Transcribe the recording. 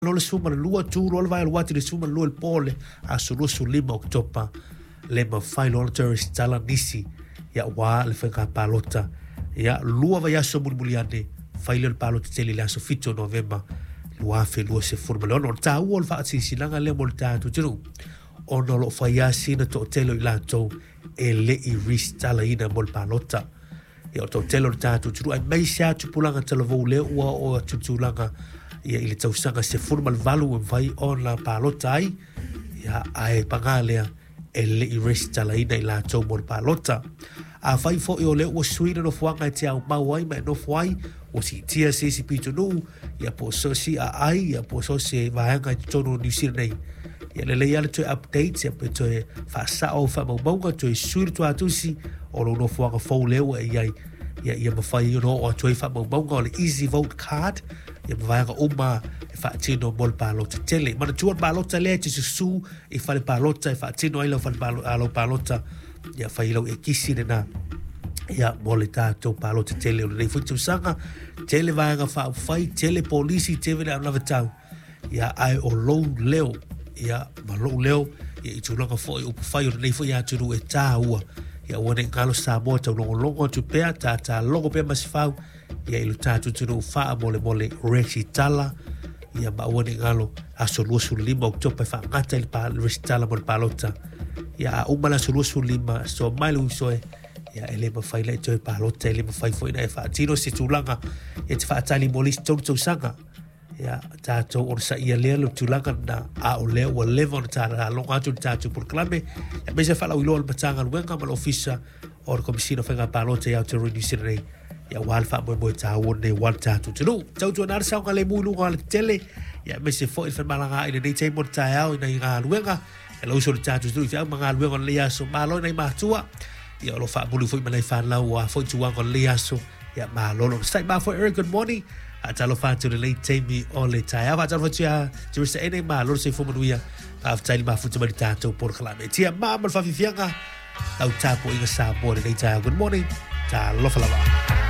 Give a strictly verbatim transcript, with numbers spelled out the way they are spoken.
Loa le sefulu ma le lua, tu loa le vae alu atu i le sefulu ma le lua i le po o le aso luasefulu lima o Oketopa, le mafai loa ona toe resitala nisi, ia aua le faiga palota. Ia, lua vaiaso mulimuli ane, fai lea o le palota tele i le aso fitu o Novema lua afe luasefulu ma le ono. O le taua o le faasilasilaga lea mo le tatou atunuu, ona o lo o fai lava sina toatele o i latou e le i resitalaina mo le palota. Ia, o le toatele o le tatou atunuu, aemaise lava tupulaga talavou lea ua oo atu i le tulaga ia i le tausaga sefulu ma le valu ua mafai ona palota ai, ia, ae paga lea e le i resitalaina i latou mo le palota. Afai foi o lea ua sui le nofoaga e te aumau ai ma e nofo ai, ua siitia se isi pitonuu, ia po o so o se aai, ia po o so o se vaega i totonu o Niu Sila nei, ia lelei lava le toe update, ia pe toe faasao faamaumauga, toe sui le tuatusi o lou nofoaga fou lea ua e i ai, ia, ia mafai ona oo atu ai faamaumauga o le Easy Vote Card, ia ma vaega uma e faatino mo le palota tele. Manatua le palota lea e te susu i fale palota e faatino ai lau, fale palo, lau palota, ia fai lau ekisi lena ia mo le tatou palota tele o lenei foi tausaga. Tele vaega faaupufai, tele polisi, tele le anavatau, ia ae o lou leo, ia ma lou leo, ia i tulaga foi upufai o lenei foi atunuu e taua, ia aua ne i galo Samoa, taulogologo atu pea, tatalogo pea Masefau, ia i lo tatou atunuu faamolemole resitala, ia ma aua ne i galo aso luasefulu lima o Oketopa e faagata i le pa- resitala mo le palota. Ia a uma le aso luasefulu lima, so mai le uisoe, ia e le mafai na e toe palota, e le mafai foi na e faatino se tulaga e te faatali mo le isi tolu tausaga. Ia tatou onosaia lea le tulaga lena, a o lea ua leva ona talaloga atu le tatou polokalame, aemaise faalauiloa o le Matagaluega ma le Ofisa o le Komesina o Faiga Palota i Aotearoa Niu Sila nei, ia aua le faamoemoe taua lenei aua le tatou atunuu. Tautuana le saogalemu i luga o le tetele, ia aemaise foi le femalagaai i lenei taimi o le taeao i nai galuega, e lauso le tatou atunuu i feau ma galuega o lenei aso. Malo i nai matua, ia o lo o faamuli foi ma nai fanau aua foi tulaga o lenei aso. Ia malo le onosai. Ma foi Eric, good morning. Faatalofa atu i lenei taimi o le taeao. Faatalofa atu ia Teresa Ene, malo le soifua manuia. Faafetai le mafuta mai le tatou polokalame. Tia ma ma le faafiafiaga, lau tapuaiga Samoa i lenei taeao. Good morning. Talofa lava.